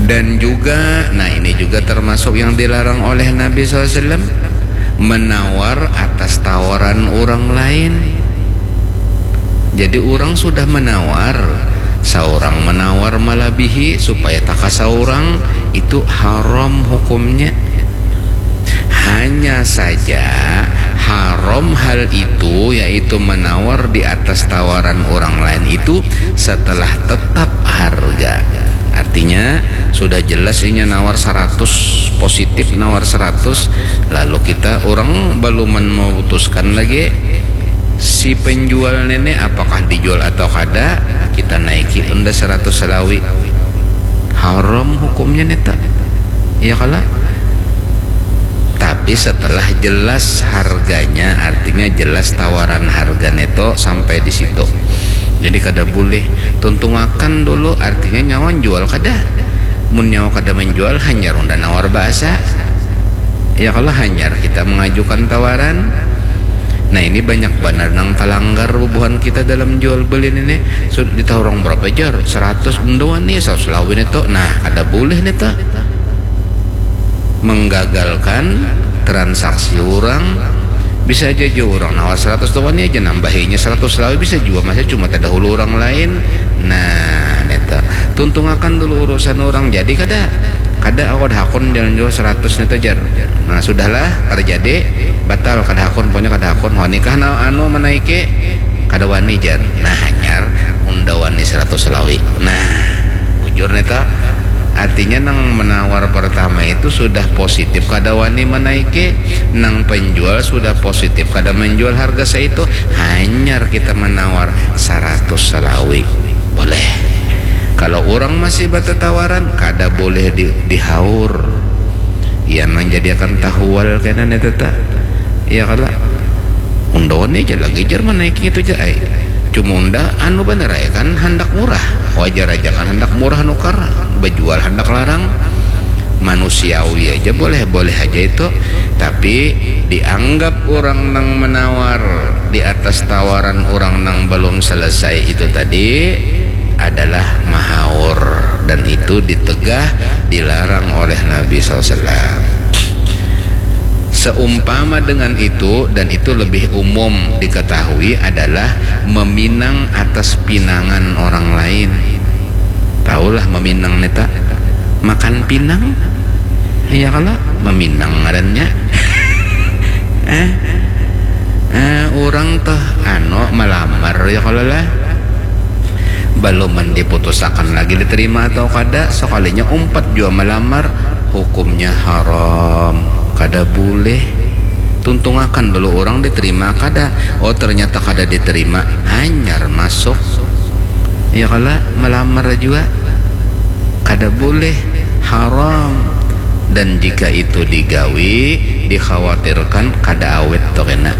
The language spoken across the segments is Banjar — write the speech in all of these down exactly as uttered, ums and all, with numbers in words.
Dan juga, nah, ini juga termasuk yang dilarang oleh Nabi sallallahu alaihi wasallam, menawar atas tawaran orang lain. Jadi orang sudah menawar, seorang menawar malabihi supaya taka seorang, itu haram hukumnya. Hanya saja haram hal itu, yaitu menawar di atas tawaran orang lain itu setelah tetap harga. Artinya sudah jelas inya nawar seratus, positif nawar seratus, lalu kita orang belum memutuskan lagi si penjual nenek apakah dijual atau kada, kita naiki unda seratus salawi. Haram hukumnya neta, ya kala? Tapi setelah jelas harganya, artinya jelas tawaran harga neto sampai di situ. Jadi kada boleh tuntungakan dulu, artinya nyawa jual kada. Mun nyawa kada menjual, hanyar unda nawar bahasa. Ya kalau hanyar kita mengajukan tawaran. Nah, ini banyak banar nang talanggar bubuhan kita dalam jual beli ini. Sudah ditawar orang berapa jar? Seratus, unda wani, seratus lawin itu. Nah, kada boleh nih tuh. Menggagalkan transaksi orang. Bisa aja jua orang nawar seratus tuh wani aja nambahinya seratus lawi, bisa jua masih cuma terdahulu orang lain. Nah, neta tuntungakan dulu urusan orang, jadi kada, kada awak hakun jalan jua seratus neta jar. Nah, sudahlah, kada jadi, batal, kada hakun, pokoknya kada hakun. Wani kah na anu menaiki? Kada wani jar. Nah, hanyar unda wani seratus lawi. Nah, bujur neta. Artinya nang menawar pertama itu sudah positif kada wani menaiki, nang penjual sudah positif kada menjual harga seitu, hanyar kita menawar seratus salawi. Boleh. Kalau orang masih bertetawaran, kada boleh di, dihaur. Yang menjadikan tahual kena nih teta. Ya kalau unda wani aja lagi jar menaiki itu aja ai. Cuma unda anu bener ai kan handak murah. Wajar aja kan handak murah nukar, bejual handak larang. Manusiawi aja, boleh-boleh aja itu. Tapi dianggap orang nang menawar di atas tawaran orang nang belum selesai itu tadi adalah mahaur, dan itu ditegah, dilarang oleh Nabi sallallahu alaihi wasallam. Seumpama dengan itu, dan itu lebih umum diketahui, adalah meminang atas pinangan orang lain. Tahulah meminang neta? Makan pinang? Iya kalau meminang ngarannya. Eh, eh, orang tuh anu melamar ya kalau lah. Belum diputusakan lagi diterima atau kada, sekalinya umpat jua melamar, hukumnya haram, kada boleh. Tuntungakan dulu orang diterima kada. Oh, ternyata kada diterima, hanyar masuk. Ya kala, melamar jua kada boleh, haram. Dan jika itu digawi, dikhawatirkan kada awet tu kena.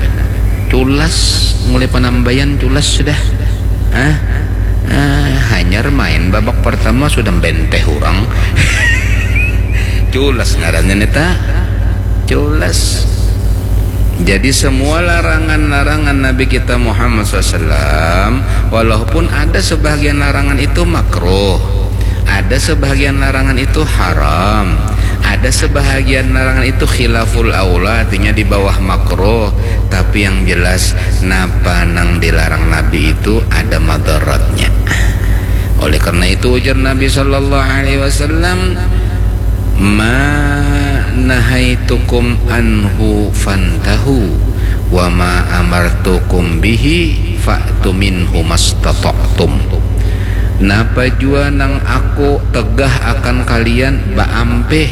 Culas, mulai penambayan culas sudah. Ah, ah, hanyar main babak pertama sudah benteh orang. Culas ngarannya neta. Culas. Jadi semua larangan-larangan Nabi kita Muhammad sallallahu alaihi wasallam, walaupun ada sebahagian larangan itu makruh, ada sebahagian larangan itu haram, ada sebahagian larangan itu khilaful aula, artinya di bawah makruh, tapi yang jelas napa nang dilarang Nabi itu ada madaratnya. Oleh karena itu ujar Nabi sallallahu alaihi wasallam, "Ma nahaitukum anhu fantahu, wa ma amartukum bihi fa'tu minhu mastata'tum." Napa jua nang aku tegah akan kalian, baampih,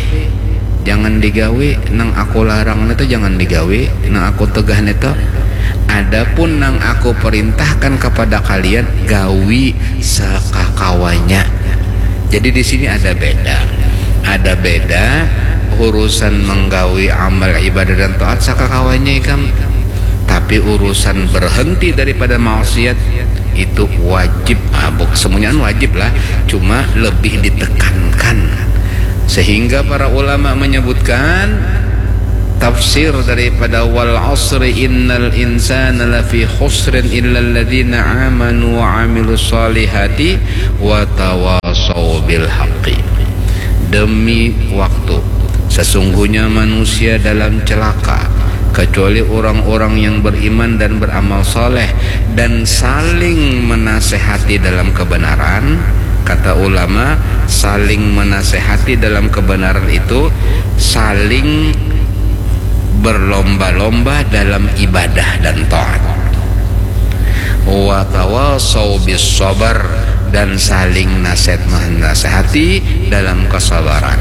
jangan digawi. Nang aku larang nitu jangan digawi, nang aku tegah nitu. Adapun nang aku perintahkan kepada kalian, gawi sakakawanya. Jadi di sini ada beda. Ada beda urusan menggawi amal ibadah dan taat sakakawanya ikam. Tapi urusan berhenti daripada maksiat itu wajib. Ah, buk-, semuanya kan wajib lah, cuma lebih ditekankan. Sehingga para ulama menyebutkan tafsir daripada wal asri innal insana lafi khusrin illa alladzina amanu wa amilus salihati wa tawa watawasau bil haqqi. Demi waktu, sesungguhnya manusia dalam celaka, kecuali orang-orang yang beriman dan beramal saleh dan saling menasehati dalam kebenaran. Kata ulama, saling menasehati dalam kebenaran itu saling berlomba-lomba dalam ibadah dan taat. Watawasau bis sabar, dan saling nasihat menasehati dalam kesabaran.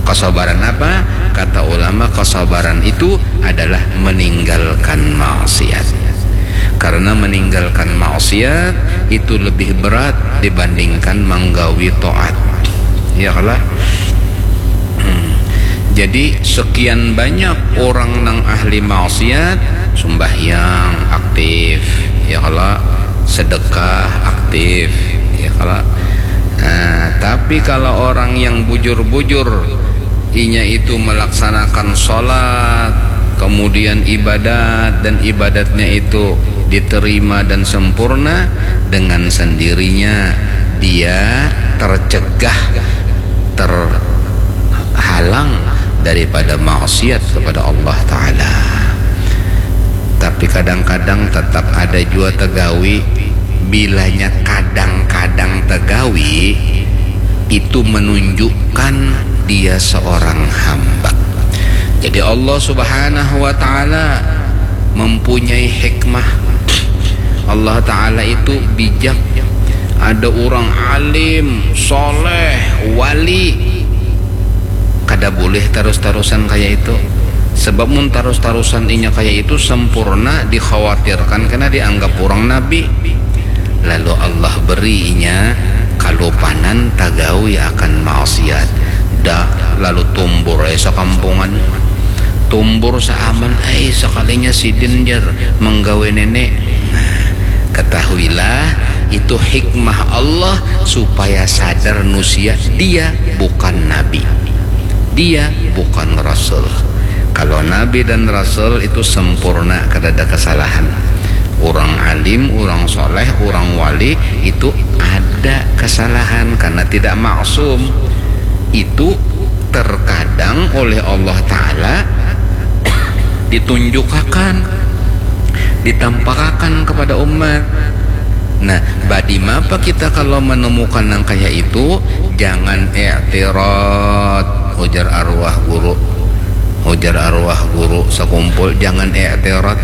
Kesabaran apa? Kata ulama, kesabaran itu adalah meninggalkan maksiat. Karena meninggalkan maksiat itu lebih berat dibandingkan menggawi taat. Ya kalah? Hmm. Jadi sekian banyak orang nang ahli maksiat, sumbahyang aktif, ya kalah, sedekah aktif, ya kalah. Nah, tapi kalau orang yang bujur-bujur, inya itu melaksanakan sholat, kemudian ibadat, dan ibadatnya itu diterima dan sempurna, dengan sendirinya dia tercegah, terhalang daripada maksiat kepada Allah Ta'ala. Tapi kadang-kadang tetap ada jua tegawi. Bilanya kadang-kadang tegawi, itu menunjukkan dia seorang hamba. Jadi Allah Subhanahu wa Ta'ala mempunyai hikmah. Allah Ta'ala itu bijak. Ada orang alim, soleh, wali, kada boleh tarus-tarusan kaya itu. Sebab mun tarus-tarusan inya kaya itu sempurna, dikhawatirkan kena dianggap orang nabi. Lalu Allah beri inya kalupanan tagawi akan maksiat. Dah, lalu tumbur ai sakampungan. Tumbur saaman ai, sakalinya sidin, jar, menggawe nenek. Nah, ketahuilah, itu hikmah Allah supaya sadar nusia dia bukan nabi. Dia bukan rasul. Kalau nabi dan rasul itu sempurna, kada ada kesalahan. Orang alim, orang soleh, orang wali itu ada kesalahan karena tidak maksum. Itu terkadang oleh Allah Ta'ala ditunjukakan, ditampakakan kepada umat. Nah, badi mapa kita kalau menemukan yang kayak itu? Jangan i'tirad, ujar arwah guru. Ujar arwah guru sakumpul, jangan i'tirad.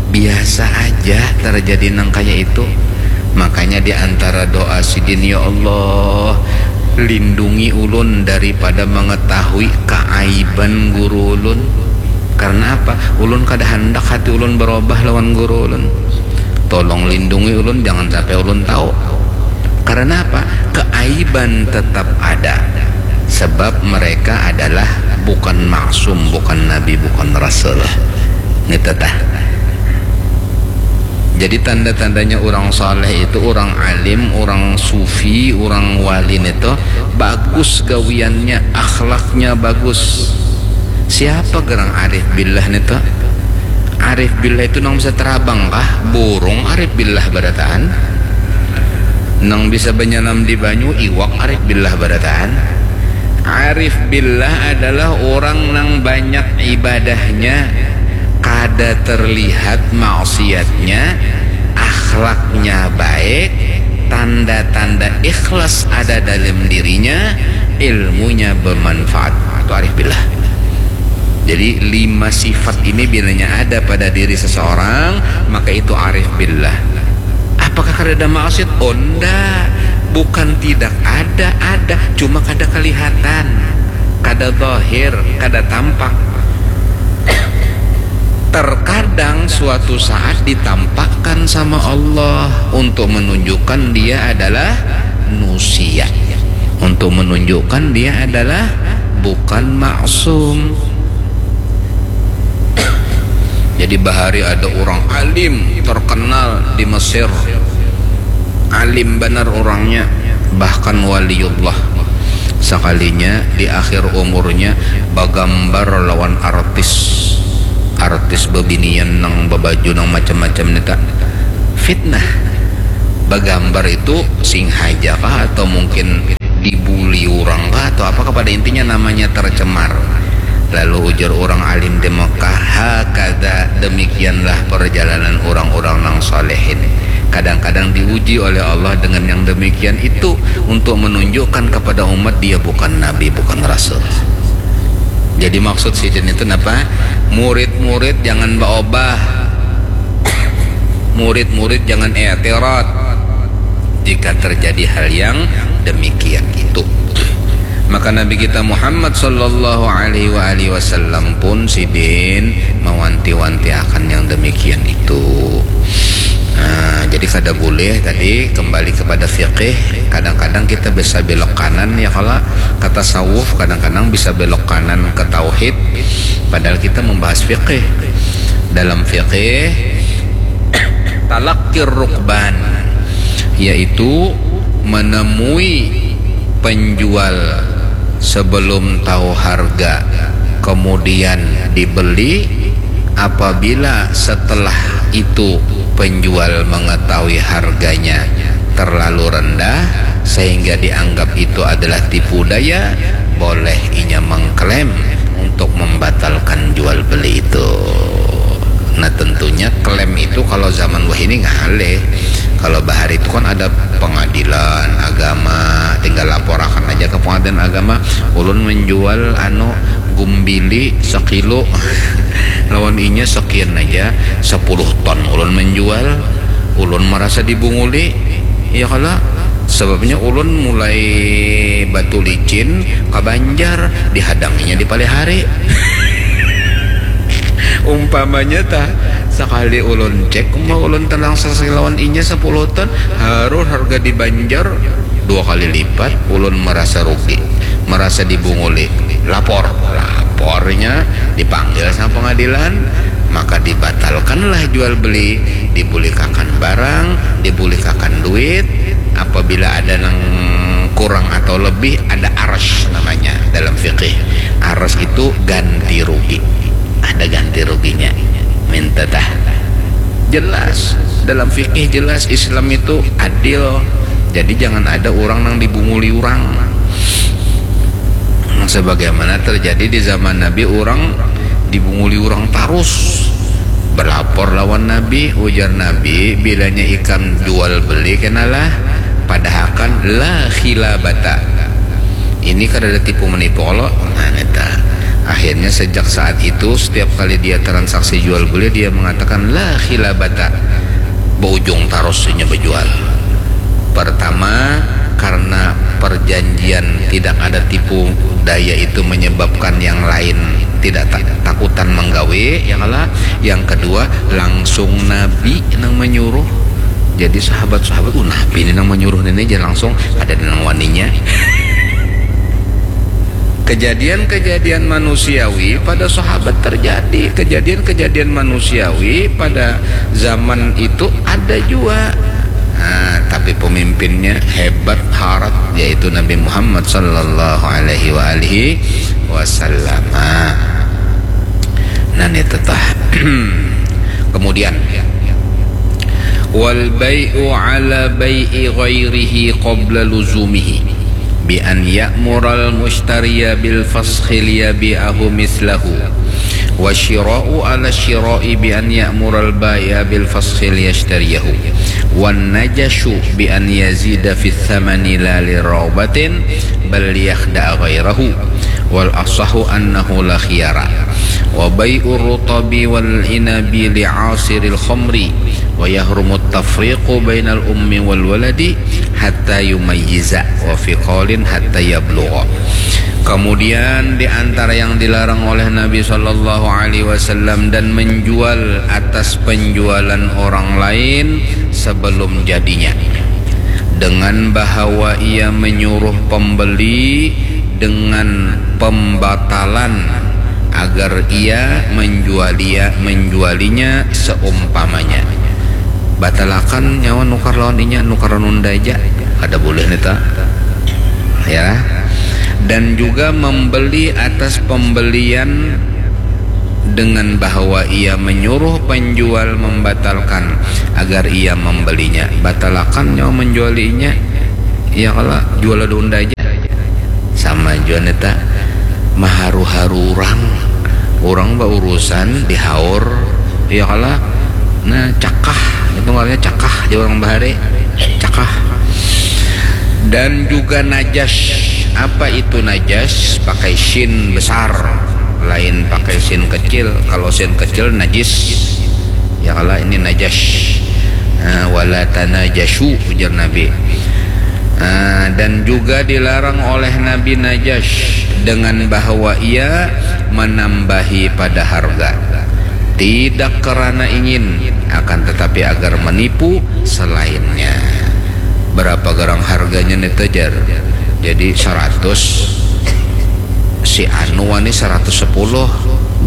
Biasa aja terjadi nang kayak itu. Makanya di antara doa sidin, "Ya Allah, lindungi ulun daripada mengetahui keaiban guru ulun." Karena apa? Ulun kada handak hati ulun berubah lawan guru ulun. Tolong lindungi ulun, jangan sampai ulun tahu. Karena apa? Keaiban tetap ada. Sebab mereka adalah bukan maksum, bukan nabi, bukan rasul. Ngerti tah? Jadi tanda-tandanya orang saleh itu, orang alim, orang sufi, orang wali itu bagus gawiannya, akhlaknya bagus. Siapa gerang arif billah itu? Arif billah itu nang bisa terabang kah? Burung arif billah barataan. Nang bisa banyanam di banyu, iwak arif billah barataan. Arif billah adalah orang nang banyak ibadahnya, kada terlihat maksiatnya, akhlaknya baik, tanda-tanda ikhlas ada dalam dirinya, ilmunya bermanfaat. Itu arif billah. Jadi lima sifat ini bilanya ada pada diri seseorang, maka itu arif billah. Apakah kada ada maksiat? Oh, ndak. Bukan tidak ada, ada, cuma kada kelihatan, kada zahir, kada tampak. Terkadang suatu saat ditampakkan sama Allah untuk menunjukkan dia adalah nusia, untuk menunjukkan dia adalah bukan maksum. Jadi bahari ada orang alim terkenal di Mesir, alim banar orangnya, bahkan waliullah. Sakalinya di akhir umurnya bagambar lawan artis, artis bebinian nang babaju nang macam-macam ni ta. Fitnah. Bagambar itu singhaja kah atau mungkin atau apa, kepada intinya namanya tercemar. Lalu ujar orang alim di Mekah, "Hakada, demikianlah perjalanan orang-orang nang solehin." Kadang-kadang diuji oleh Allah dengan yang demikian itu untuk menunjukkan kepada umat dia bukan nabi, bukan rasul. Jadi maksud sidin itu napa? Murid-murid jangan baobah. Murid-murid jangan e'tirad jika terjadi hal yang demikian itu. Maka Nabi kita Muhammad sallallahu alaihi wa alihi wasallam pun sidin mawanti-wanti akan yang demikian itu. Nah, jadi kada boleh tadi kembali kepada fikih. Kadang-kadang kita bisa belok kanan ya, kalau kata tasawuf kadang-kadang bisa belok kanan ke tauhid, padahal kita membahas fikih. Dalam fikih, talakir rukban, yaitu menemui penjual sebelum tahu harga, kemudian dibeli. Apabila setelah itu penjual mengetahui harganya terlalu rendah sehingga dianggap itu adalah tipu daya, boleh inya mengklaim untuk membatalkan jual beli itu. Nah, tentunya klaim itu kalau zaman wahini ngalih. Kalau bahari itu kan ada pengadilan agama, tinggal laporakan aja ke pengadilan agama, "Ulun menjual anu gumbili sekilo." Lawan inya sekian aja, sepuluh ton ulun menjual, ulun merasa dibunguli. Ya kala, sebabnya ulun mulai Batu Licin ke Banjar, dihadanginya di Palihari. Umpamanya tah, sekali ulun cek, uma ulun tenang sasi lawan inya sepuluh ton, harus harga di Banjar dua kali lipat, ulun merasa rugi, merasa dibunguli. Lapor, lapornya dipanggil sama pengadilan, maka dibatalkanlah jual beli, dibulikakan barang, dibulikakan duit. Apabila ada nang kurang atau lebih, ada aras namanya dalam fikih. Aras itu ganti rugi, ada ganti ruginya. Minta tah. Jelas, dalam fikih jelas, Islam itu adil. Jadi jangan ada orang nang dibunguli orang. Sebagaimana terjadi di zaman Nabi, orang dibunguli orang tarus. Berlapor lawan Nabi, ujar Nabi, "Bilanya ikam jual beli kenalah, padahakan la khilabata." Ini kada ada tipu menipu, kalau nah neta. Akhirnya sejak saat itu, setiap kali dia transaksi jual beli, dia mengatakan la khilabata. Berujung tarus inya berjual. Pertama, karena perjanjian tidak ada tipu daya itu menyebabkan yang lain tidak ta- takutan menggawe, ya kala. Yang kedua, langsung Nabi nang menyuruh. Jadi sahabat-sahabat, "Uh, Nabi ini nang menyuruh ini aja langsung, ada nang waninya." Kejadian-kejadian manusiawi pada sahabat terjadi. Kejadian-kejadian manusiawi pada zaman itu ada juga. Nah, tapi pemimpinnya hebat harat, yaitu Nabi Muhammad sallallahu alaihi wa alihi wasallam. Nah, ini tetah. Kemudian, wal bai'u ala bai'i ghairihi qabla luzumihi, bi an ya'mural mushtariya bil faskhi liyabi'ahu mislahu, wa syira'u ala syira'i bi an ya'mural bai'a bil faskhi liyashtariyahu, wan najashu bi an yazida fi thamani la li raubatin bal liyakhda'a ghairahu, wal asahu annahu la khiyara, wa bai'ur rutabi wal inabi li asiril khamri, wa yahrumu tafriqu bainal ummi wal waladi hatta yumayyiza, wa fi qaulin hatta yablugha. Kemudian di antara yang dilarang oleh Nabi sallallahu alaihi wasallam dan menjual atas penjualan orang lain sebelum jadinya, dengan bahawa ia menyuruh pembeli dengan pembatalan agar ia menjualia menjualinya seumpamanya. Batalakan nyawa nukar lawan inya, nukar lawan unda aja. Kada boleh nih ta. Ya. Dan juga membeli atas pembelian dengan bahawa ia menyuruh penjual membatalkan agar ia membelinya. Batalakan nyawa menjualinya. Ya kala, jual lawan unda aja. Sama Jua neta maharu-haru urang. Urang baurusan dihaur, ya kala. Nah, cakah, itu ngarannya cakah, jar urang bahari. Cakah. Dan juga najas. Apa itu najas? Pakai sin besar, lain pakai sin kecil. Kalau sin kecil najis. Ya kala, ini najas. Nah, wala tanajasyu, ujar Nabi. Nah, dan juga dilarang oleh Nabi najas dengan bahwa ia menambahi pada harga. Tidak kerana ingin, akan tetapi agar menipu selainnya. Berapa garang harganya neta, jar? Jadi seratus, si anu wani seratus sepuluh.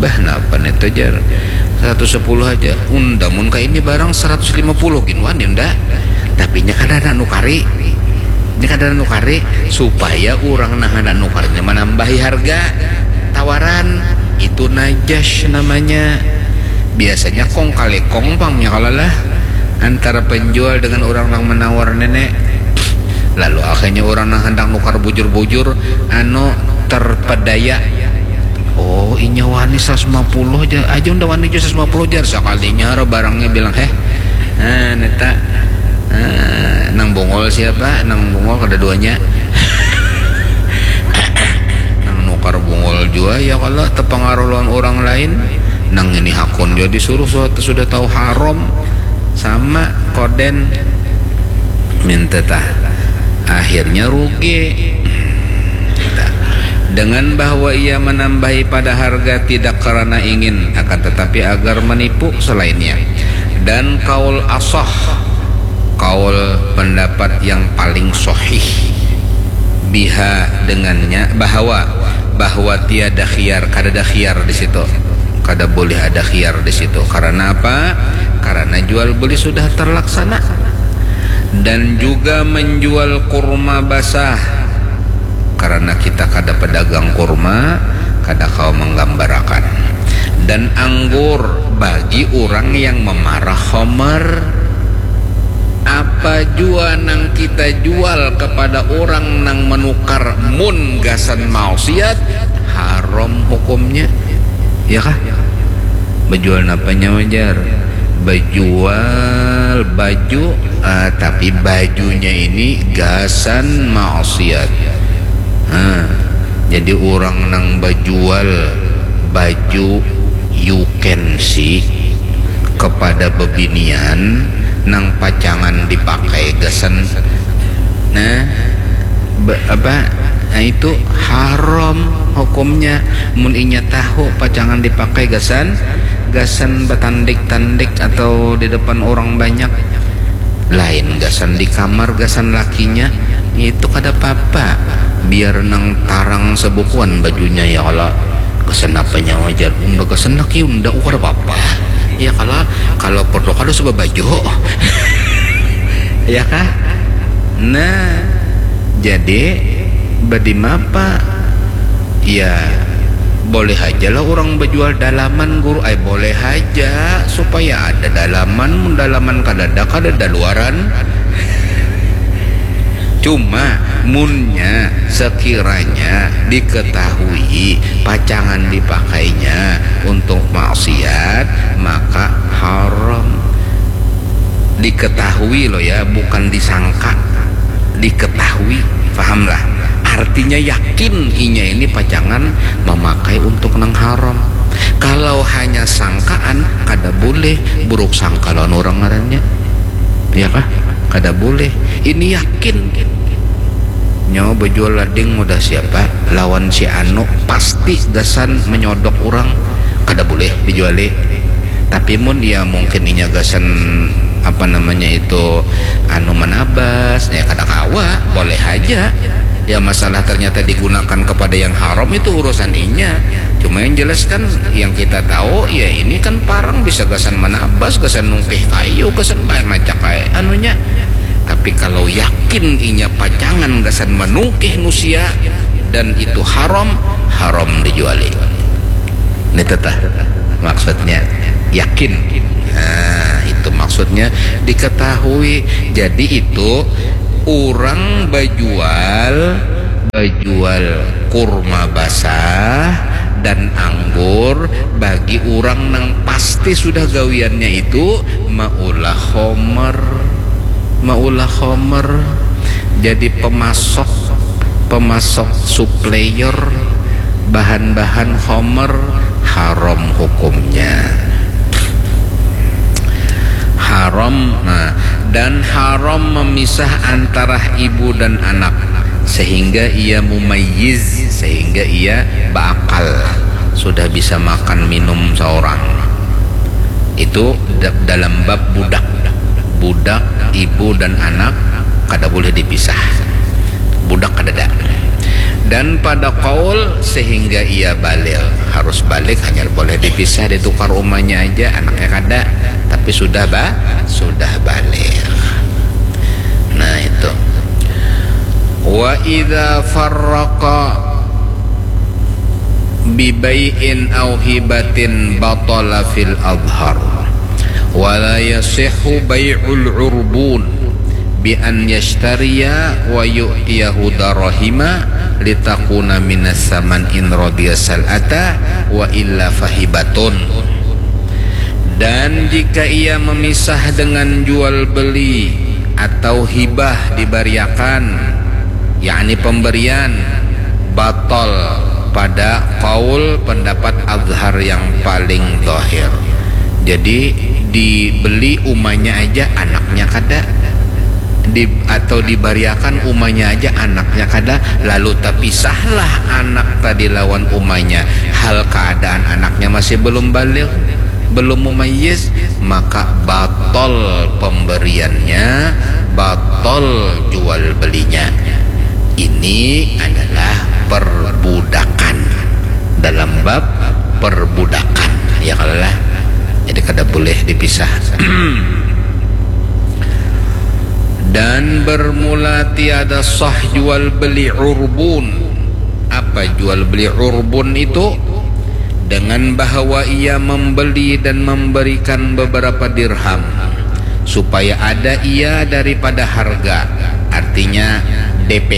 Bah, napa neta, jar? Seratus sepuluh aja. Unda mun ka ini barang seratus lima puluh gin wani unda. Tapi nya kada ada nukari. Nya kada ada nukari supaya urang nang handak nukarnya manambahi harga tawaran. Itu najas namanya. Biasanya kong kali kong pang nya kala lah antara penjual dengan urang nang menawar nene. Lalu akhirnya urang nang handak nukar bujur-bujur, anu, terpedaya. Oh, inya wani seratus lima puluh aja, aja unda wani jua seratus lima puluh, jar. Sakalinya ro barangnya bilang, "Heh, nah, neta, eh, nang bungul siapa? Nang bungul kada duanya." Nang nukar bungul jua, ya kala, tepengaruh lawan urang lain. Nang ini hakun jua disuruh, sudah, sudah tahu haram. Sama, koden. Minta tah. Akhirnya rugi. Dengan bahwa ia menambahi pada harga tidak karena ingin, akan tetapi agar menipu selainnya. Dan kaul asah, kaul pendapat yang paling sahih, biha, dengannya, bahwa, bahwa tiada khiyar, kada ada khiyar di situ. Kada boleh ada khiyar di situ. Karena apa? Karena jual beli sudah terlaksana. Dan juga menjual kurma basah. Karena kita kada pedagang kurma, kada kawa menggambarakan. Dan anggur bagi orang yang memarah khomer. Apa jua nang kita jual kepada orang nang menukar mun gasan maksiat, haram hukumnya. Ya kah? Bejual napa nya, jar? Bejual baju, ah, tapi bajunya ini gasan maksiat. Ah, jadi orang nang bejual baju you can see kepada bebinian nang pacangan dipakai gasan, nah, be, apa, nah, itu haram hukumnya. Mun inya tahu pacangan dipakai gasan, gasan batandik-tandik atau di depan orang banyak, lain gasan di kamar, gasan lakinya, itu kada papa. Biar nang tarang sebukuan bajunya, ya kala. Gasan apa nya, jar? Unda gasan laki unda, oh, kada papa. Ya kala, kalau perlu kada usah babaju. Ya kah? Nah, jadi badimapa? Ya, boleh haja lah orang bejual dalaman, guru. Ay, boleh haja, supaya ada dalaman. Mun dalaman kadada, kadada luaran. Cuma munnya sekiranya diketahui pacangan dipakainya untuk maksiat, maka haram. Diketahui loh ya, bukan disangka. Diketahui, pahamlah? Artinya yakin inya ini pacangan memakai untuk nang haram. Kalau hanya sangkaan, kada boleh, buruk sangka lawan orang ngarannya. Ya kah? Kada boleh. Ini yakin. Nyawa bejual lading mudah siapa? Lawan si anu, pasti gasan menyodok orang. Kada boleh dijuali. Tapi mun ya mungkin inya gasan, apa namanya itu, anu, manabas, ya kada kawa, boleh haja. Ya, masalah ternyata digunakan kepada yang haram, itu urusan inya. Cuma yang jelas kan, yang kita tahu, ya ini kan parang bisa gasan manabas, gasan nungkih kayu, gasan banyak macam kayak anunya. Tapi kalau yakin inya pacangan gasan manungkih nusia dan itu haram, haram dijuali. Ini tetah maksudnya, yakin. Nah, itu maksudnya diketahui. Jadi itu orang bajual, bajual kurma basah dan anggur bagi urang nang pasti sudah gawiannya itu maulah khomer. Maulah khomer. Jadi pemasok, pemasok supplier bahan-bahan khomer haram hukumnya. Haram, nah, dan haram memisah antara ibu dan anak sehingga ia mumayyiz, sehingga ia beakal, sudah bisa makan minum seorang. Itu da- dalam bab budak. Budak, ibu dan anak kada boleh dipisah. Budak kadada. Dan pada kaul sehingga ia baligh, harus baligh, hanya boleh dipisah, ditukar umanya aja, anaknya kada, tapi sudah ba sudah baligh. Nah, itu. Wa idza farraqa bi bai'in au hibatin batala fil adhhar. Wa la yasihhu bai'ul urbun bi an yashtariya wa yu'tiyahu darahima litakuna minas saman in radiya sal'ata wa illa fahibatun. Dan jika ia memisah dengan jual beli atau hibah dibariakan, yakni pemberian, batal pada kaul pendapat azhar yang paling zahir. Jadi dibeli umanya aja, anaknya kada. Di, atau dibariakan umanya aja, anaknya kada, lalu tapisahlah anak tadi lawan umanya, hal keadaan anaknya masih belum baligh, belum mumayyiz, maka batal pemberiannya, batal jual belinya. Ini adalah perbudakan, dalam bab perbudakan, ya kalo lah. Jadi kada boleh dipisah. Dan bermula tiada sah jual beli urbun. Apa jual beli urbun itu? Dengan bahwa ia membeli dan memberikan beberapa dirham supaya ada ia daripada harga, artinya D P.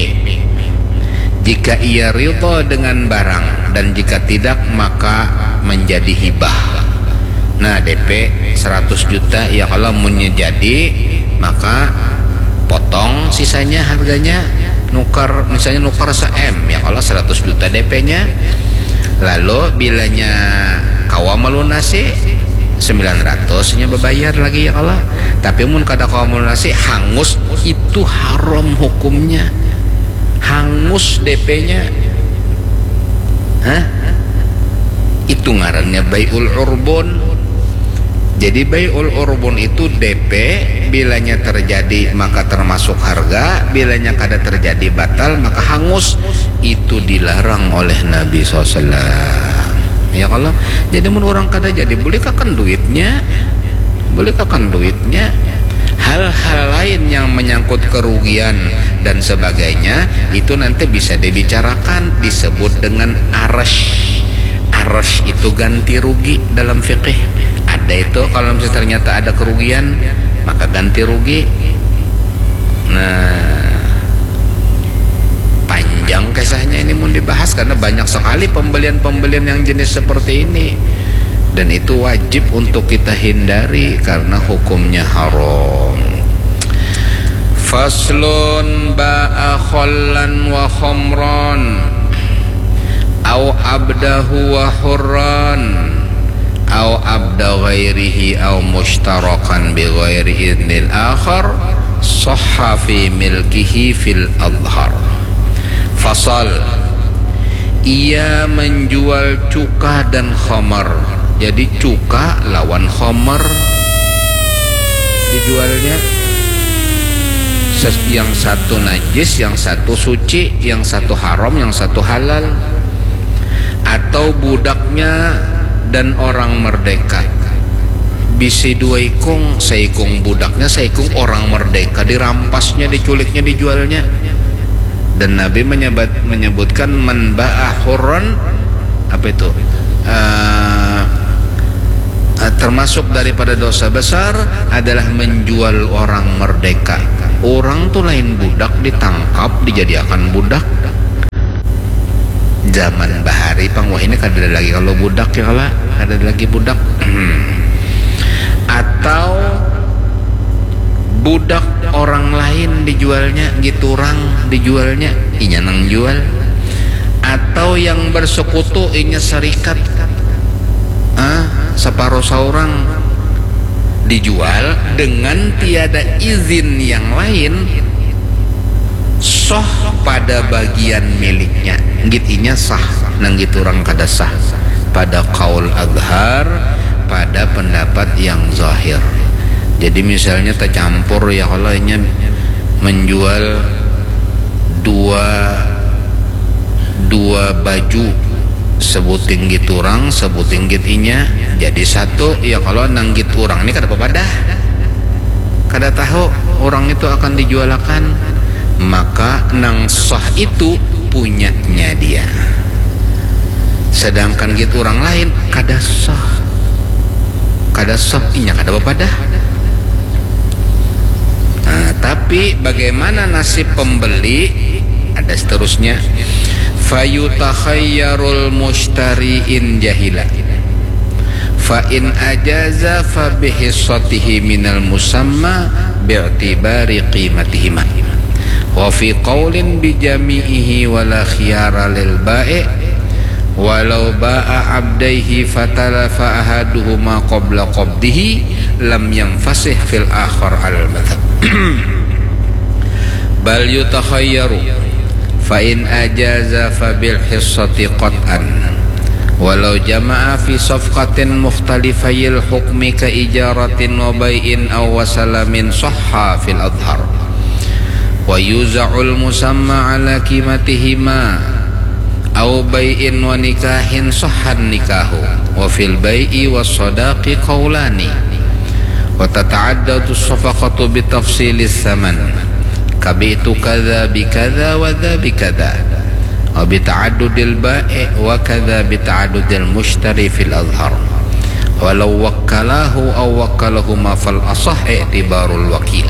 Jika ia ridha dengan barang dan jika tidak maka menjadi hibah. Nah, D P seratus juta, ya kalo munnya jadi, maka potong sisanya harganya, nukar, misalnya nukar se-M, ya kalo seratus juta D P-nya. Lalu bilanya kawa melunasi, sembilan ratus nya bebayar lagi, ya kalo. Tapi mun kada kawa melunasi, hangus, itu haram hukumnya. Hangus D P-nya. Hah? Itu ngarannya bai'ul urbun. Jadi bai'ul urbun itu D P, bilanya terjadi maka termasuk harga, bilanya kada terjadi batal maka hangus. Itu dilarang oleh Nabi sallallahu alaihi wasallam. Ya kalo? Jadi mun urang kada jadi, bulikakan duitnya. Bulikakan duitnya. Hal-hal lain yang menyangkut kerugian dan sebagainya, itu nanti bisa dibicarakan, disebut dengan arash. Arash itu ganti rugi dalam fikih. Ada itu, kalau misalnya ternyata ada kerugian, maka ganti rugi. Nah, panjang kisahnya ini mun dibahas, karena banyak sekali pembelian-pembelian yang jenis seperti ini. Dan itu wajib untuk kita hindari karena hukumnya haram. Faslun ba'a khallan wa khamran, au abdahu wa hurran, au abda ghairihi, au mushtarakan bi ghairi idnil akhar, sahha fi milkihi fil adhar. Fasal, ia menjual cuka dan khamar. Jadi cuka lawan khamar dijualnya. Ses- yang satu najis, yang satu suci, yang satu haram, yang satu halal. Atau budaknya dan orang merdeka. Bisi dua ikung, saikung budaknya, saikung orang merdeka, dirampasnya, diculiknya, dijualnya. Dan Nabi menyebat, menyebutkan, "Man ba'a hurran," apa itu? Eh, eh, termasuk daripada dosa besar adalah menjual orang merdeka. Orang tu lain budak, ditangkap, dijadiakan budak. Zaman bahari pang, wahini kadada lagi kalau budak ya kala, kadada lagi budak. Atau budak orang lain dijualnya, gitu orang dijualnya, inya nang jual. Atau yang bersekutu, inya serikat, ah, separuh saurang, dijual dengan tiada izin yang lain, soh pada bagian miliknya, git inya sah, nang gitu orang kada sah pada kaul azhar, pada pendapat yang zahir. Jadi misalnya tercampur ya, kalau inya menjual dua dua baju, sebuting git orang, sebuting git inya, jadi satu. Ya kalau nang git orang ini kada papadah, kada tahu orang itu akan dijualakan, maka nang sah itu punyanya dia. Sedangkan git orang lain kada sah, kada sah, inya kada papadah. Nah, tapi bagaimana nasib pembeli? Ada seterusnya. Fayutakhayyarul mushtari in jahila. Fa in ajaza fa bihissatihi minal musamma bi'tibari qimatihima. Wa fi qaulin bi jami'ihi wala khiyara lil ba'i walau ba'a abdaihi fatalafa ahaduhuma qabla qabdihi lam yanfasih fil akhar alal madhab. Bal yutakhayyaru fa in ajaza fa bil hissati qat'an walau jama'a fi safqatin mukhtalifayil hukmi ka ijaratin wa bai'in aw wasalamin sahha fil adhar. Wa yuza'ul musamma ala qimatihima aw bai'in wa nikahin sahhan nikahu. Wa fil bai'i was sadaqi qaulani. Wa tata'addadu safaqatu bi tafsilis saman. Kabi'tu kadza bi kadza wa dza bi kadza. Wa bi ta'addudil ba'i wa kadza bi ta'addudil mushtari fil azhar. Walau wakkalahu aw wakkalahuma fal asah i'tibarul wakil.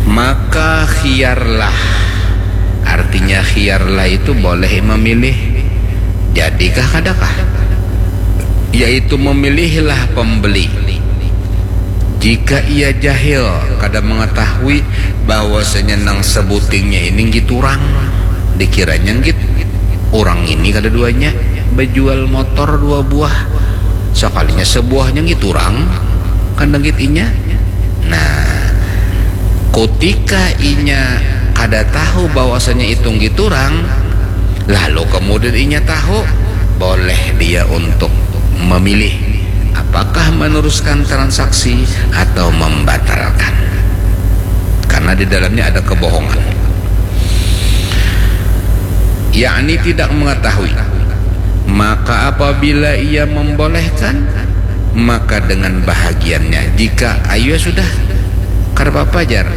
Maka khiyarlah. Artinya khiyarlah itu boleh memilih. Jadikah kadakah? Yaitu memilihlah pembeli. Jika ia jahil, kada mengetahui bahwasanya nang sebutingnya ini nggit urang, dikiranya nggit urang ini kada duanya bejual motor dua buah, sakalinya sebuahnya nggit urang, kada nggit inya. Nah, kutika inya kada tahu bahwasanya itu nggit urang, lalu kemudian inya tahu, boleh dia untuk memilih apakah meneruskan transaksi atau membatalkan. Karena di dalamnya ada kebohongan. Yakni tidak mengetahui. Maka apabila ia membolehkan, maka dengan bahagiannya. Jika, ayo sudah, kada apa-apa jar.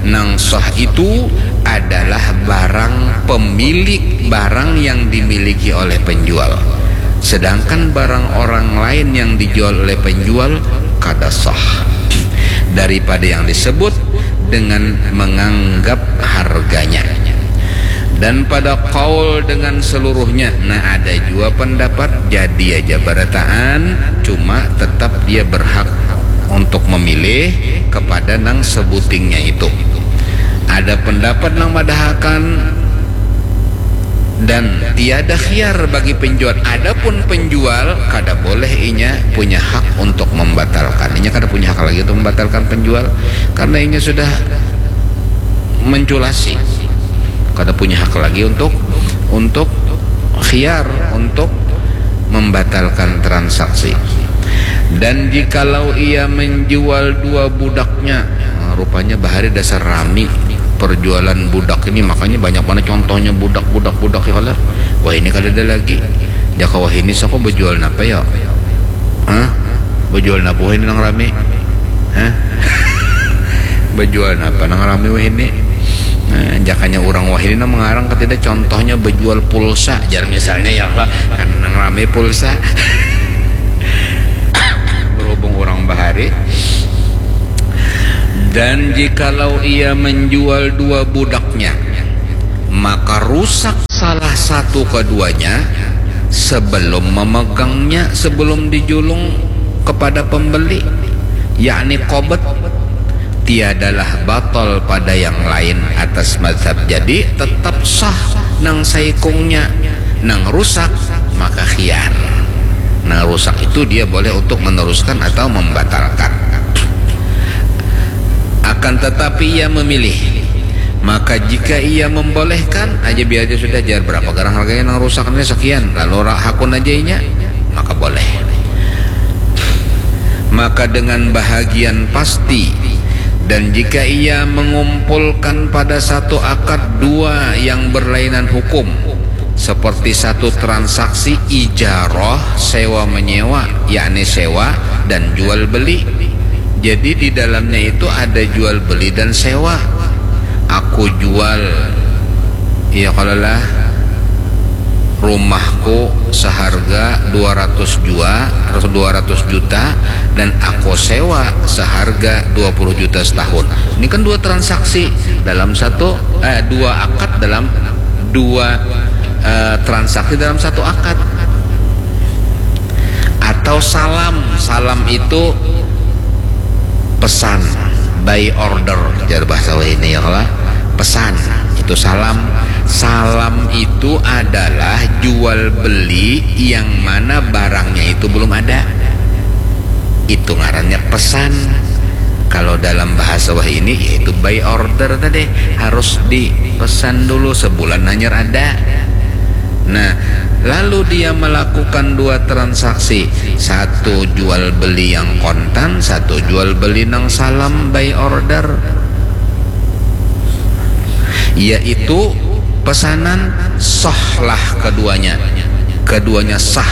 Nang sah itu adalah barang, pemilik barang yang dimiliki oleh penjual. Sedangkan barang orang lain yang dijual oleh penjual kada sah daripada yang disebut dengan menganggap harganya. Dan pada kaul dengan seluruhnya, nah, ada jua pendapat jadi aja barataan, cuma tetap dia berhak untuk memilih kepada nang sebutingnya itu. Ada pendapat nang madahakan dan tiada khiar bagi penjual. Adapun penjual, kada boleh inya punya hak untuk membatalkan. Inya kada punya hak lagi untuk membatalkan penjual, karena inya sudah menculasi. Kada punya hak lagi untuk, untuk khiar, untuk membatalkan transaksi. Dan jikalau ia menjual dua budaknya, nah, rupanya bahari dasar rami perjualan budak ini, makanya banyak mana contohnya budak, budak, budak ya kala. Wah, ini kada ada lagi. Jaka wah ini sako bejual napa ya? Hah? Bejual napa wah ini nang rami? Hah? Bejual napa nang rami wah ini? Nah, jakanya urang wah ini nang mengarang ketida, contohnya bejual pulsa, jar misalnya ya kala, kan nang rami pulsa. Berhubung urang bahari. Dan jikalau ia menjual dua budaknya, maka rusak salah salah satu keduanya sebelum memegangnya, sebelum dijulung kepada pembeli, yakni qobd, tiadalah batal pada yang lain atas mazhab. Jadi tetap sah nang saikungnya, nang rusak maka khiyar. Nang rusak itu dia boleh untuk meneruskan atau membatalkan. Akan tetapi ia memilih. Maka jika ia membolehkan, aja biar aja sudah, jar berapa garang harganya nang rusak ini sekian, lalu ra-, hakun aja inya, maka boleh. Maka dengan bahagian pasti, dan jika ia mengumpulkan pada satu akad dua yang berlainan hukum, seperti satu transaksi ijarah sewa menyewa, yakni sewa dan jual beli. Jadi di dalamnya itu ada jual beli dan sewa. Aku jual, iya kalau lah, rumahku seharga dua ratus jua, dua ratus juta, dan aku sewa seharga dua puluh juta setahun. Ini kan dua transaksi dalam satu, eh, dua akad dalam dua, eh, transaksi dalam satu akad. Atau salam, salam itu pesan, buy order, jar bahasa wahini ya kalau pesan itu salam. Salam itu adalah jual beli yang mana barangnya itu belum ada. Itu ngarannya pesan. Kalau dalam bahasa wahini yaitu buy order tadi, harus dipesan dulu sebulan hanyar ada. Nah, lalu dia melakukan dua transaksi, satu jual beli yang kontan, satu jual beli nang salam buy order, yaitu pesanan, sahlah keduanya. Keduanya sah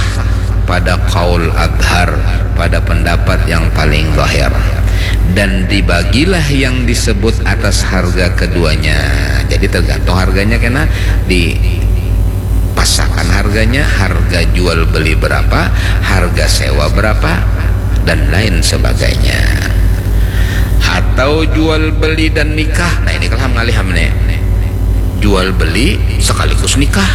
pada kaul adhar, pada pendapat yang paling zahir. Dan dibagilah yang disebut atas harga keduanya. Jadi tergantung harganya kena dipasakan harganya, harga jual beli berapa, harga sewa berapa, dan lain sebagainya. Atau jual beli dan nikah. Nah, ini kalah ngalih ham nih. Jual beli sekaligus nikah.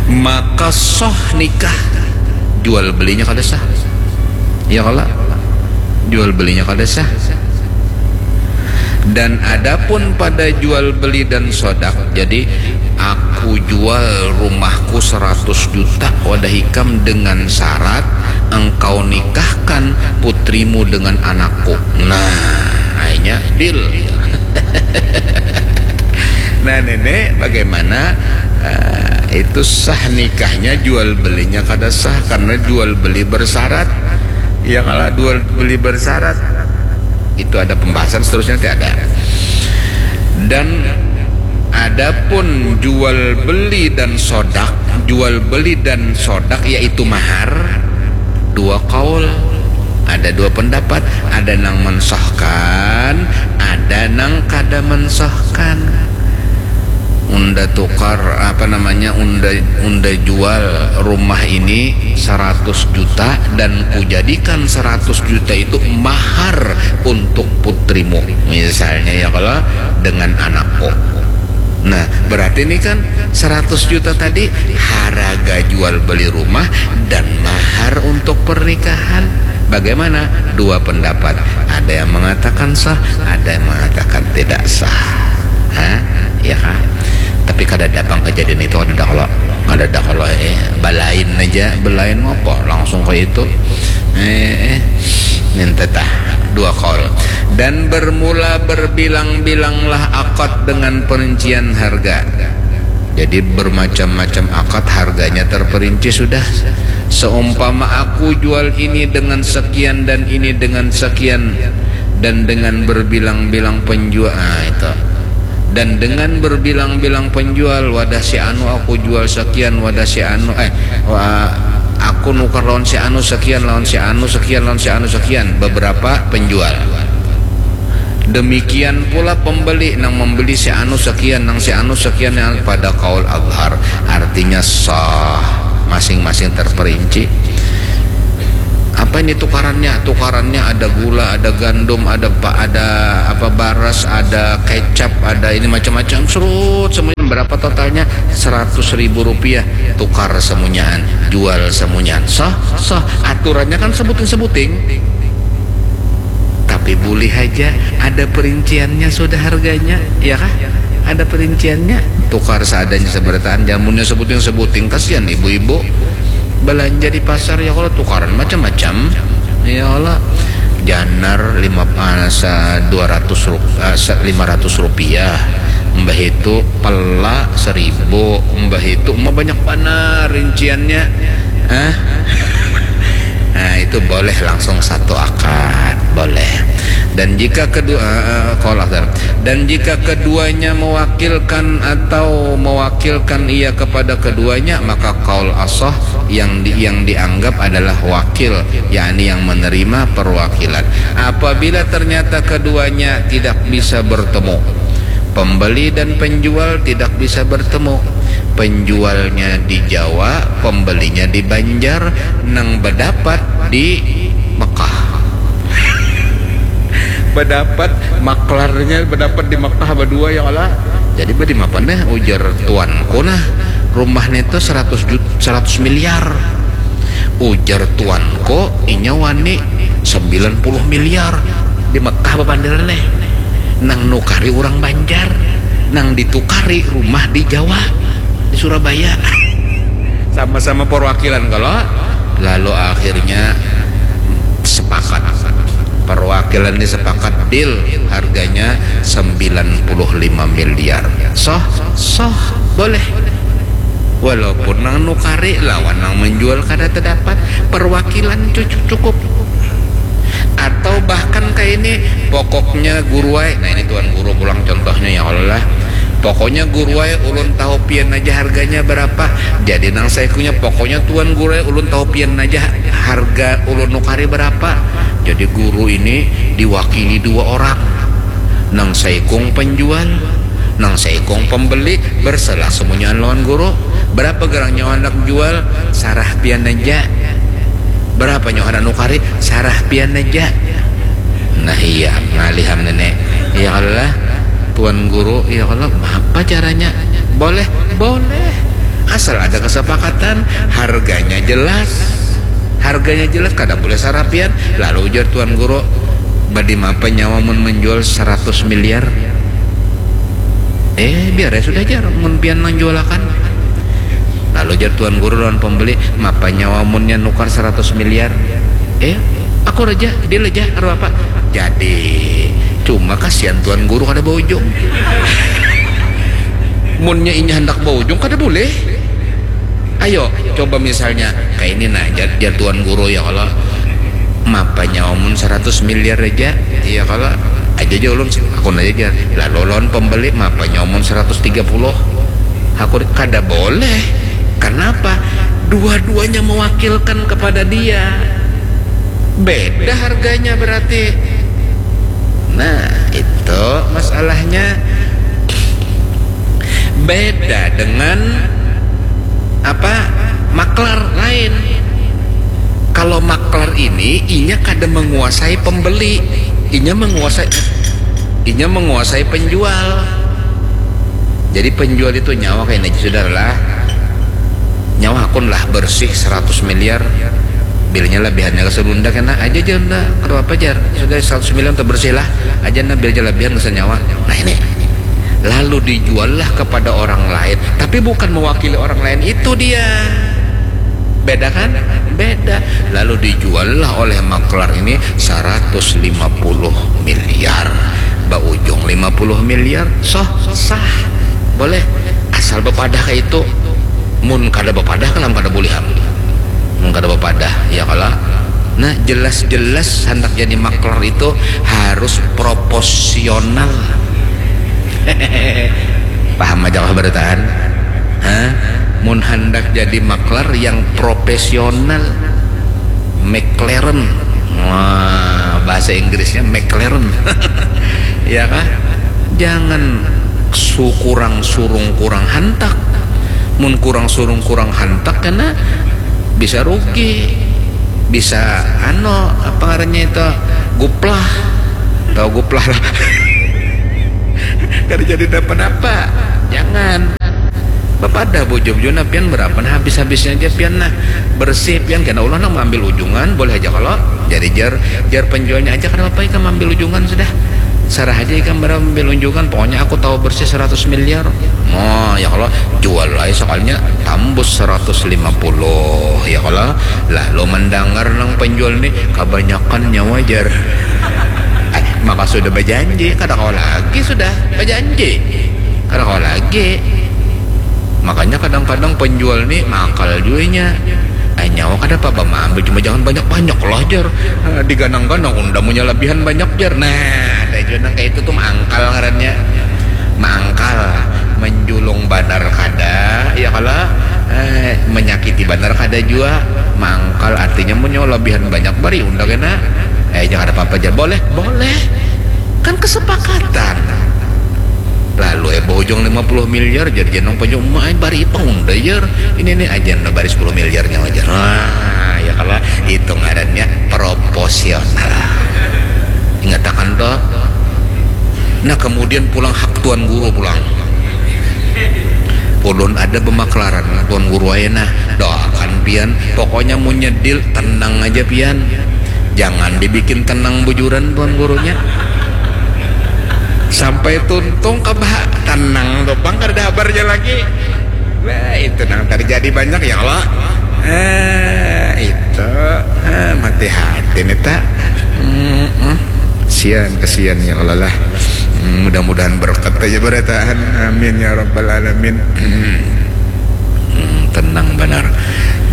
Maka sah nikah. Jual belinya kada sah. Ya kalau jual belinya kada sah. Dan adapun pada jual beli dan sodak, jadi aku jual rumahku seratus juta wadah ikam dengan syarat engkau nikahkan putrimu dengan anakku. Nah, akhirnya deal. Nah, nenek, bagaimana, eh, itu sah nikahnya, jual belinya kada sah karena jual beli bersyarat. Ya kalau jual beli bersyarat, itu ada pembahasan seterusnya nanti ada. Dan adapun jual beli dan sodak, jual beli dan sodak yaitu mahar, dua kaul, ada dua pendapat, ada nang mensahkan, ada nang kada mensahkan. Unda tukar, apa namanya, unda unda jual rumah ini seratus juta dan kujadikan seratus juta itu mahar untuk putrimu, misalnya ya kalau, dengan anakku. Nah, berarti ini kan seratus juta tadi harga jual beli rumah dan mahar untuk pernikahan. Bagaimana? Dua pendapat. Ada yang mengatakan sah, ada yang mengatakan tidak sah. Hah? Ya kah? Tapi kada ada pang kejadian itu, kada ada kalau, kada ada kalau, eh, balain aja, balain apa langsung kayak itu. Eh, eh. Minta tah dua kaul. Dan bermula berbilang-bilanglah akad dengan perincian harga. Jadi bermacam-macam akad, harganya terperinci sudah. Seumpama aku jual ini dengan sekian dan ini dengan sekian, dan dengan berbilang-bilang penjual, ah, itu. Dan dengan berbilang-bilang penjual, wadah si anu aku jual sekian, wadah si anu, eh, wa-, aku nukar lawan si anu sekian, lawan si anu sekian, lawan si anu sekian, beberapa penjual. Demikian pula pembeli, nang membeli si anu sekian, nang si anu sekian, yang pada kaul azhar, artinya sah, masing-masing terperinci. Apa ini tukarannya? Tukarannya ada gula, ada gandum, ada pa-, ada apa, baras, ada kecap, ada ini macam-macam, serut semuanya Berapa totalnya? Seratus ribu rupiah. Tukar semunyaan, jual semunyaan. Sah, sah. Aturannya kan sebuting-sebuting. Tapi boleh aja ada perinciannya sudah harganya, ya kah? Ada perinciannya. Tukar seadanya seberataan, jamunnya sebuting-sebuting. Kasihan ibu-ibu. Belanja di pasar, ya Allah, tukaran macam-macam. Ya Allah, janar lima, ah, sa-, dua ratus rup-, ah, sa-, lima ratus rupiah. Mbah itu pela seribu, mbah itu mah banyak banar rinciannya. Hah? Nah, itu boleh langsung satu akad, boleh. Dan jika kedua, eh, eh, qaul asar. Dan jika keduanya mewakilkan atau mewakilkan ia kepada keduanya, maka qaul asah yang di, yang dianggap adalah wakil, yakni yang menerima perwakilan. Apabila ternyata keduanya tidak bisa bertemu, pembeli dan penjual tidak bisa bertemu, penjualnya di Jawa, pembelinya di Banjar, nang bedapat di Mekah. Bedapat, maklarnya bedapat di Mekah berdua, ya Allah. Jadi badi mapa nih, ujar tuanku, nah, rumah nih tuh seratus juta, seratus miliar. Ujar tuanku, inya wani sembilan puluh miliar di Mekah bapandiran nih. Nang nukari orang Banjar, nang ditukari rumah di Jawa, di Surabaya. Sama-sama perwakilan kalau. Lalu akhirnya sepakat. Perwakilan ini sepakat, deal, harganya sembilan puluh lima miliar. Soh, soh, boleh. Walaupun nang nukari lawan nang menjual kada terdapat, perwakilan cu-, cukup. Atau bahkan kayak ini, pokoknya guru ai. Nah, ini tuan guru pulang contohnya, ya Allah. Pokoknya guru ai, ulun tahu pian aja harganya berapa. Jadi nang saikunya, pokoknya tuan guru ai, ulun tahu pian aja harga ulun nukari berapa. Jadi guru ini diwakili dua orang. Nang saikung penjual, nang saikung pembeli, berselah semunyaan lawan guru. Berapa gerang nyawa hendak jual, sarah pian aja. Berapa nyawa hendak nukari, sarah pian aja. Nah, iya, ngalih am nenek. Ya Allah, tuan guru, ya Allah, apa caranya? Boleh, boleh. Asal ada kesepakatan, harganya jelas. Harganya jelas, kada boleh sarah pian. Lalu ujar tuan guru, badi mapa nyawa mun menjual seratus miliar? Eh, biar ya sudah, jar, mun pian nang jualakan. Lalu jar tuan guru lawan pembeli, mapa nyawa munnya nukar seratus miliar? Eh, aku raja, deal aja, kada apa. Jadi, cuma kasihan tuan guru kada baujung. Munnya inya hendak baujung, kada boleh. Ayo, coba misalnya, kayak ini nah, jar, jar tuan guru, ya Allah. Mapa nyawa mun seratus miliar aja, iya kalau aja aja ulun, aku aja, jar. Lalu lawan pembeli, mapa nyawa mun seratus tiga puluh? Aku kada boleh. Kenapa? Dua-duanya mewakilkan kepada dia. Beda harganya berarti. Nah, itu masalahnya. Beda dengan apa? Maklar lain. Kalau maklar ini, inya kada menguasai pembeli, inya menguasai, inya menguasai penjual. Jadi penjual itu nyawa kayak ini, saudara lah. Nyawa akun lah bersih seratus miliar. Bilnya lebihannya ke Sunda kena aja, jar, nda, kada apa, jar. Sudah seratus miliar terbersih lah. Aja, nda, bilnya lebihan, dosa nyawa. Nah, ini. Lalu dijuallah kepada orang lain, tapi bukan mewakili orang lain itu dia. Beda kan? Beda. Lalu dijuallah oleh maklar ini seratus lima puluh miliar. Baujung lima puluh miliar, sah, sah. Boleh. Asal bepadah kayak itu. Mun kada bepadah, kalam kada boleh am. Mun kada bepadah, ya kalau. Nah, jelas-jelas hendak jadi maklar itu harus proporsional. Paham aja kah berataan? Hah? Mun hendak jadi maklar yang profesional, McLaren. Wah, bahasa Inggrisnya McLaren. Ya kah? Jangan su-, kurang surung, kurang hantak. Mun kurang surung, kurang hantak, kena bisa rugi, bisa, ano, apa ngarannya itu, guplah. Tahu guplah lah. Kada jadi dapat apa. Jangan. Bapadah bujur-bujurnya pian, berapa nah habis-habisnya aja pian nah. Bersih pian, kena ulah nang maambil ujungan, boleh aja kalau. Jadi jar, jar penjualnya aja, kada apa-apa ikam ambil ujungan sudah. Sarah aja ikam berapa ambil ujungan, pokoknya aku tahu bersih seratus miliar. Oh, ya kalau jual aja sekalinya tambus seratus lima puluh, ya kalau. Lalu mendengar nang penjual nih, kebanyakan nyawa jar. Eh, maka sudah berjanji, kada kau lagi sudah berjanji. Kada kau lagi. Makanya kadang-kadang penjual nih mangkal juanya. Eh, nyawa kada apa-apa maambil, cuma jangan banyak-banyak lah jar. Eh, diganang-ganang unda munya lebihan banyak jar. Nah, ada juga nang kayak itu tuh mangkal ngarannya. Mangkal, menjulung banar kada, ya kalau eh, menyakiti banar kada jua. Mangkal artinya mun nyawa lebihan banyak bari unda kena. Eh, jangan apa-apa jar. Boleh, boleh. Kan kesepakatan. Lalu eh, bahujung lima puluh miliar, jadi jenong panjang uma, eh, bari ipang unda jar. Ini nih aja unda bari sepuluh miliarnya aja. Nah, ya kalau itu ngarannya proporsional. Ingatakan toh. Nah, kemudian pulang hak tuan guru pulang. Ulun ada bemaklaran tuan guru aja nah. Doakan pian. Pokoknya mun nyedil tenang aja pian. Jangan dibikin tenang bujuran tuan gurunya. Sampai tuntung kebah tenang tuh pang, kada ada habarnya lagi. Wah, itu nang terjadi banyak ya Allah. Eh, itu eh, mati hati nih tak. Mm-mm. Sian, kesian ya Allah lah. Hmm, mudah-mudahan berkat aja berataan. Amin ya rabbal alamin. Hmm, tenang benar.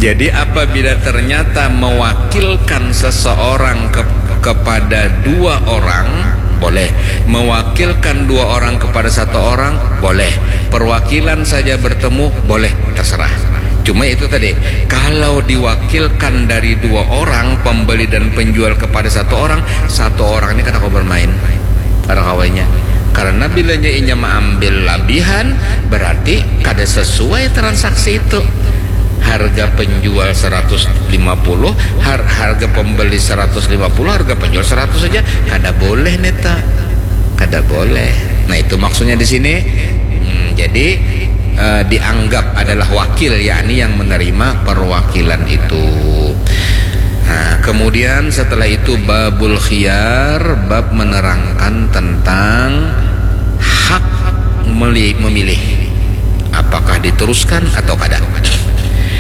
Jadi apabila ternyata mewakilkan seseorang ke, kepada dua orang, boleh. Mewakilkan dua orang kepada satu orang, boleh. Perwakilan saja bertemu, boleh, terserah. Cuma itu tadi, kalau diwakilkan dari dua orang, pembeli dan penjual kepada satu orang, satu orang ini kada kawa bermain. Kada kawanya. Karena bilanya inya maambil labihan, berarti kada sesuai transaksi itu. Harga penjual seratus lima puluh, har, harga pembeli seratus lima puluh, harga penjual seratus saja. Kada boleh neta. Kada boleh. Nah, itu maksudnya di sini. Hmm, jadi eh, dianggap adalah wakil, yakni yang menerima perwakilan itu. Nah, kemudian setelah itu babul khiyar, bab menerangkan tentang hak meli-, memilih apakah diteruskan atau kada.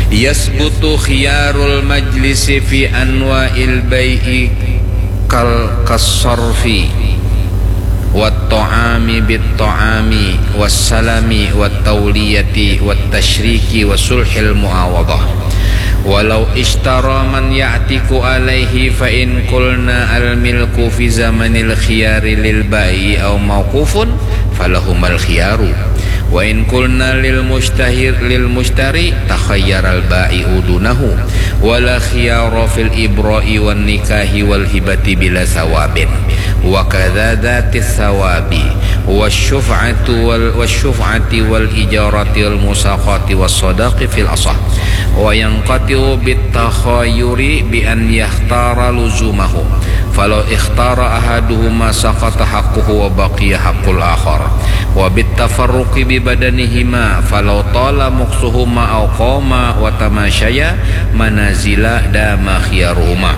Yasbutu khiyarul majlisi fi anwa'il bai'i kal kasarfi wat ta'ami bit ta'ami was salami wat tauliyati wat tasyriki wa sulhil muawadah. Walau ishtara man ya'tiku alaihi, fa in qulna al milku fi zamanil khiyari lil bai'i au mauqufun, falahumal khiyaru. Wa in qulna lil mushtahir, lil mushtari, takhayyaral bai'u dunahu. Wala khiyara fil ibra'i wan nikahi wal hibati bila sawabin. Wa kadza dzatis sawabi. Wasyuf'atu wal, wasyuf'ati wal ijarati wal musaqati was sadaqi fil asah. Wa yanqati'u bit takhayuri bi an yahtara luzumahu. Falau ikhtara ahaduhuma saqata haqquhu wa baqiya haqqul akhar. Wa bit tafarruqi bi badanihima, falau tala muksuhuma au qama wa tamashaya manazila dama khiyaruhuma.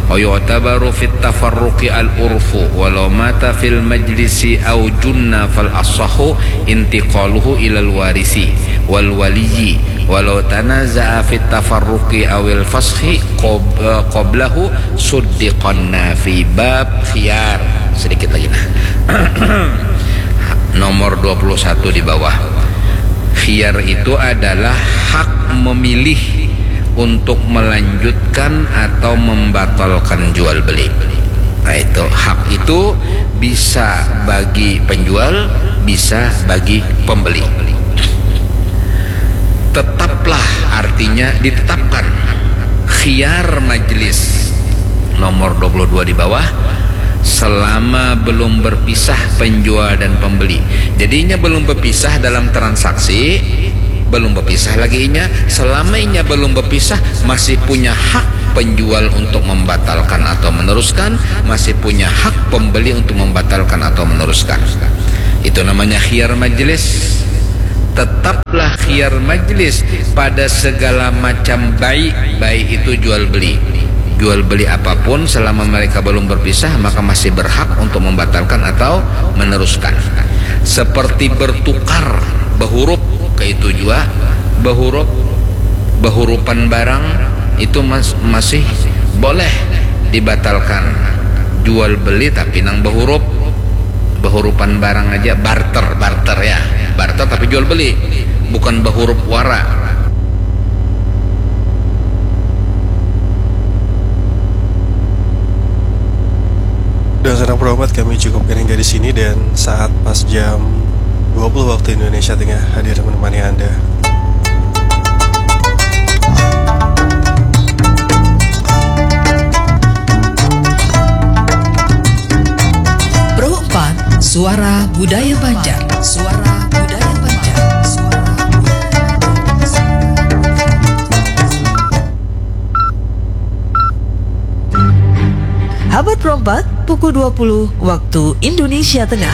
Wa yu'tabaru fit tafarruqi al urfu, walau mata fil majlisi au junna fal asahhu intiqaluhu ilal warisi wal waliyyi, walau tanaza'a fit tafarruqi awil fashi qob-, eh, qoblahu suddiqon nafi. Bab khiyar. Sedikit lagi nah. Nomor dua puluh satu di bawah. Khiyar itu adalah hak memilih untuk melanjutkan atau membatalkan jual beli. Nah, itu hak itu bisa bagi penjual, bisa bagi pembeli. Tetaplah, artinya ditetapkan khiyar majlis nomor dua puluh dua di bawah selama belum berpisah penjual dan pembeli. Jadi inya belum berpisah dalam transaksi, belum berpisah lagi inya. Selama inya belum berpisah, masih punya hak penjual untuk membatalkan atau meneruskan, masih punya hak pembeli untuk membatalkan atau meneruskan. Itu namanya khiyar majlis. Tetaplah berkhiyar majlis pada segala macam bai, bai itu jual beli. Jual beli apapun selama mereka belum berpisah maka masih berhak untuk membatalkan atau meneruskan. Seperti bertukar, behurup, kaitu jua behurup, behurupan barang itu mas, masih boleh dibatalkan. Jual beli tapi nang behurup, behurupan barang aja, barter, barter ya, barter tapi jual beli, bukan behurup wara. Dengan senang berhormat kami cukupkan hingga di sini dan saat pas jam dua puluh waktu Indonesia Tengah hadir menemani Anda. Pro empat, Suara Budaya Banjar. Suara Budaya Banjar. Suara Budaya Banjar. Habat Rompat, pukul dua puluh waktu Indonesia Tengah.